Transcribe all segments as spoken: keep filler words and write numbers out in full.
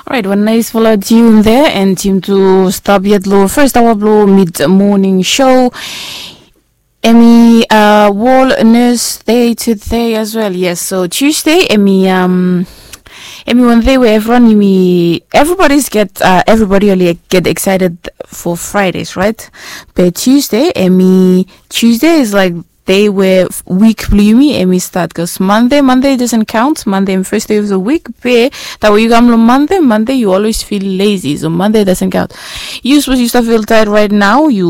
Right, wan naisfala tune there, and tune tu stap yet lo first hour blo mid morning show. Emi uh, wall nurse day today as well. Yes, so Tuesday emi um emi one day where everyone emi everybody's get uh, everybody only get excited for Fridays, right? But Tuesday emi Tuesday is like day where week blo yumi emi start, because Monday Monday doesn't count. Monday emi first day of the week. Be that way you come on Monday Monday you always feel lazy, so Monday doesn't count. You suppose you start feel tired right now. You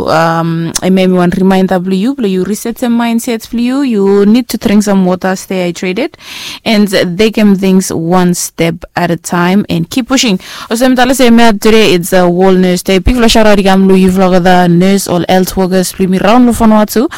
um emi wan reminder blo you blo you reset the mindset blo you. You need to drink some water, stay hydrated, and take them things one step at a time and keep pushing. Osem tala se mea today it's a wall nurse day. Big flash out ikam lo you vlog the nurse or health workers blo mi round lo Vanuatu.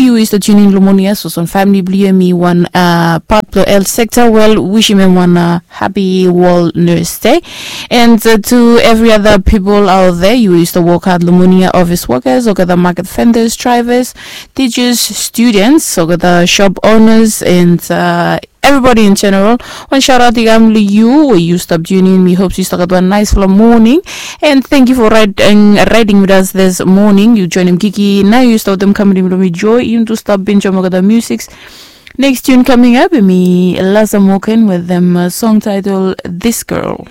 You is the tuning lo monia so some family blo you mi one uh, part lo health sector. Well, wish him one uh, happy wall nurse day. And uh, to every other people out there, you is the work hard lo monia, office workers, or the market vendors, drivers, teachers, students, or the shop owners, and uh, everybody in general. Wan shout out ikam lo you where you stop tuning. Mi hopes you start wan naisfala morning, and thank you for riding, riding with us this morning. You join him Kiki now. You start them coming lo mi joy. You to stop binge on the music. Next tune coming up, mi Laza Morgan with them uh, song title This Girl.